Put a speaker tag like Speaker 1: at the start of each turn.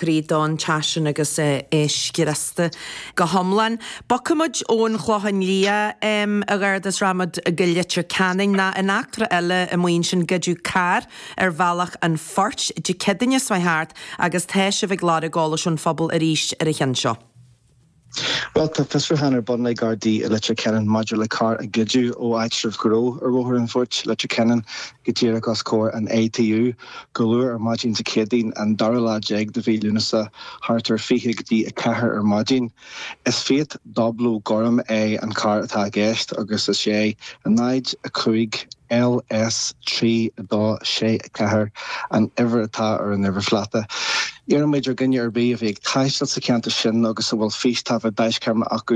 Speaker 1: Croí don teach sin agus é scriosta go hiomlán. Bogfaidh muid ón Chlochán Liath, a Gharda, is rachaidh muid go Leitir Ceanainn. Nó in eachtra eile amuigh ansin goideadh carr ar Bhealach an Phoirt Dé Céadaoine seo chuaigh thart agus tá sibh ag lorg eolais ón phobal arís ar an cheann seo.
Speaker 2: Bhuel, tá fiosrúchán ar bun ag Gardaí i Leitir Ceanainn maidir le carr a goideadh ó áitreabh gnó ar Bhóthar an Phoirt, Leitir Ceanainn, go díreach os comhair an ATU, go luath ar maidin Dé Céadaoin, an dara lá déag de mhí Lúnasa, thart ar 20 go dtí 4 ar maidin. Is Fiat Doblo gorm é an carr atá i gceist agus is é 0, 5 LS 3 2 6 4 an uimhir atá ar an uimhirphláta. Iarraimid ar dhuine ar bith a bhí ag taisteal sa cheantar sin agus a bhfuil fístaifead deaischeamara acu.